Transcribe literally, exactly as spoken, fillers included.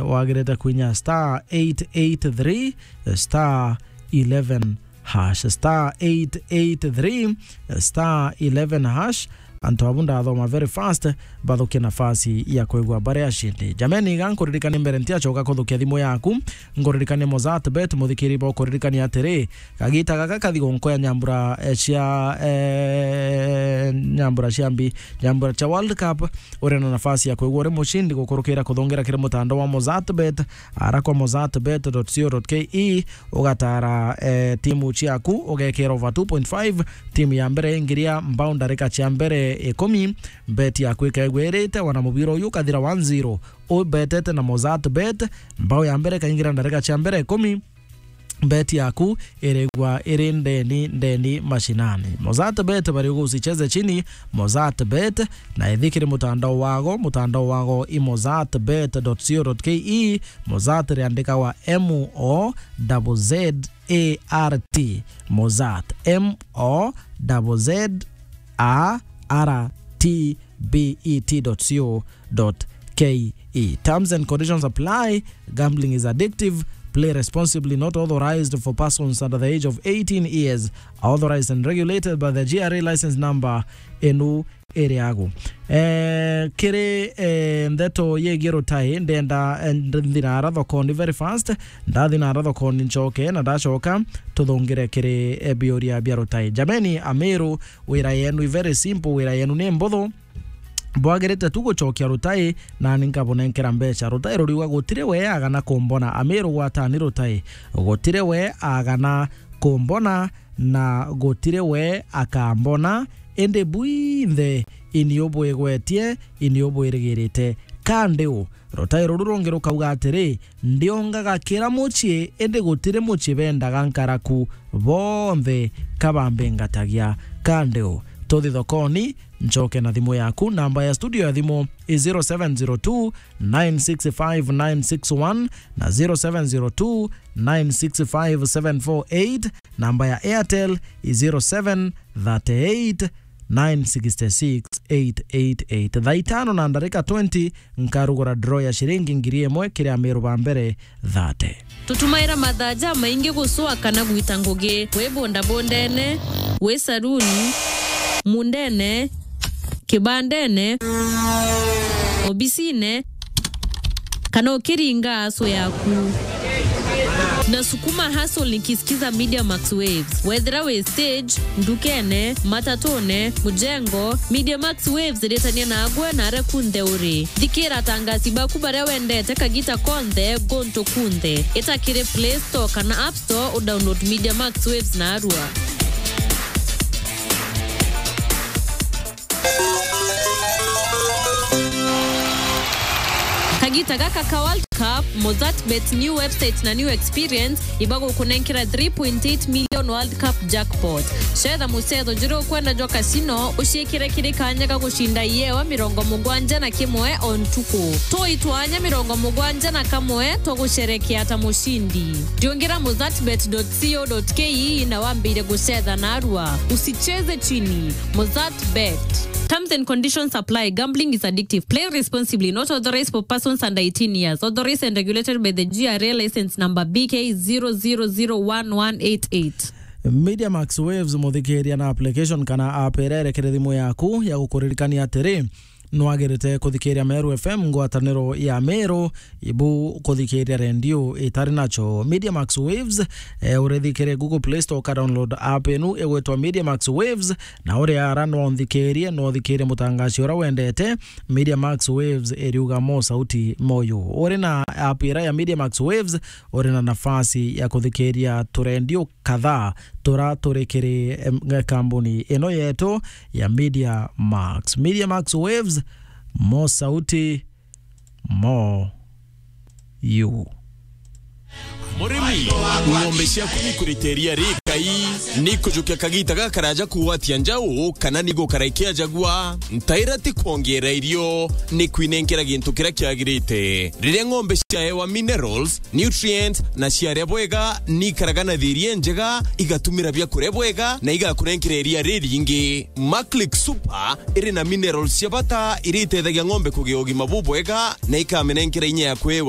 bwagirite kwinya star eight eight three star eleven hash, star eight eight three star eleven hash. Antu abu ndathoma very fast, bathukie nafasi ya kwigua bari ashindi. Jameni, iga nkuririkanie mbere ntiacoka kuthukia thimu yaku, nkuririkanie Mozart Bet, muthikiri bo kuririkania atiri, kagita gaka kathi gunkoya nyambura, eh, cia, eh, nyambura cia mbi, nyambura cia World Cup, uri na nafasi ya kwigua uri mushindi gukurukira kuthungira kiri mutandao wa Mozart Bet, ara kwa mozart bet dot co dot ke, ugatara, eh, timu ciaku, ugekira over two point five, timu ya mbere ingiria mbao ndarika cia mbere ikumi, bet yaku ikaigwa irite, wana mubira uyu ukathira one zero, ubetete na Mozart Bet, mbao ya mbere ikaingira ndarika cia mbere ikumi, bet yaku irigwa iri ndeni, ndeni mashinani. Mozart Bet bari ugusicheze chini, Mozart Bet, na ithi kiri mutandao wago, mutandao wago i mozart bet dot co dot ke, Mozart riandikagwa M O Z Z A R T, Mozart, M O Z Z A R T B E T dot co dot K E. Terms and conditions apply. Gambling is addictive. Play responsibly. Not authorized for persons under the age of eighteen years. Authorized and regulated by the G R A license number enu iri agu. Eh, kiri, eh, ndeto yegie Rutai, ndenda, eh, nthinaara thokoni very fast. Ndathinara thokoni ncoke, na ndacoka tuthungire kiri, eh, biuria bia Rutai. Jameni, Amiru, wira yenu i very simple, wira yenu ni mbuthu. Bwagirite tu gucokia Rutai, nani nkabunenkera mbeca. Rutai ruriuga, gutiri we agana kumbona. Amiru, gwatani Rutai, gutiri we agana kumbona, na gutiri we akambona, indi bwinthe ini ubwigwetie, ini ubwirigirite. Kandi u, Rutai ruru rungi rukauga atiri, ndiongaga kira mucii, indi gutiri mucii bendaga nkaraku, bonthe ka bambingatagia. Kandi u, tuthi thokoni, ncoke na thimu yaku. Namba ya studio ya thimu i zero seven zero two, nine six five, nine six one na zero seven zero two, nine six five, seven four eight. Namba ya Airtel i zero seven thirty eight, nine six six, eight eight eight. Thaa itano na ndarika twenty, nkarugura draw ya shiringi ngiri imwe kiri Amiru ba mbere thate. Tutumaira mathaa jamaingi gucwa kana gwita ngugi, wi bundabundene, wi saruni, mundene, kibandene, obisine, kana ukiringa aso yaku. Na sukuma hustle nikisikiza Media Max Waves. Wethira wi stage, ndukene, matatune, mujengo, Media Max Waves iritania nagwe na aria kunthe uri. Thikira atangasi baku baria wendete kagita konthe, guntu kunthe. Ita kiri Play Store kana App Store, u download Media Max Waves narua. Kagita gaka ka World Cup, Mozart Bet new website na new experience ibagukunenkera three point eight million World Cup jackpot. Cetha mucetho juria ukwenda jwa casino, uciikire kiri kanya ga gucinda iewa mirongo mugwanja na kimwe o ntuku. Toi twanya mirongo mugwanja na kamwe twa gucerekea ta mucindi. Riungira mozart bet dot co dot ke na wambire gucetha narua. Usicheze chini. Mozart Bet. Terms and conditions apply. Gambling is addictive. Play responsibly. Not authorized for persons under eighteen years. Authorized and regulated by the G R A license number B K zero zero zero one one eight eight. Media Max Waves, muthikiria na application kana app iria irekere thimu yaku ya gukuririkania atiri, nwagirite kuthikiria Meru F M, ngwataniro ya Meru, ibu kuthikiria rendio itari nacho. Media Max Waves, eh, urethikire Google Play Store, ka download app inu igwitwa Media Max Waves, na uri ara no nthikirie, no thikirie mutangaci ura wendete. Media Max Waves iriuga mo sauti moyo. Uri na app ira ya Media Max Waves, uri na nafasi ya kuthikiria turendio kadhaa tura turi kiri, em, kambuni ino yetu ya Media Max. Media Max Waves, mo sauti, mo you. Murimi, ng'ombe ciaku nikurita iria rikai, nikujukia kagita gakaraja kugwatia njau, kana nigukara ikiajagua? Ntaira ti kwongeera irio, ni kwinenkera gintu kiria kiagirite. Riria ng'ombe ciaewa minerals, nutrients, na ciaria bwega, nikaraga na thiri injega, igatumira biakuria bwega, na igakunenkera iria riringi. Maclick Super iri na minerals cia bata iria itethagia ng'ombe kugia ugima bubwega, na ikamenenkera inya ya kwewa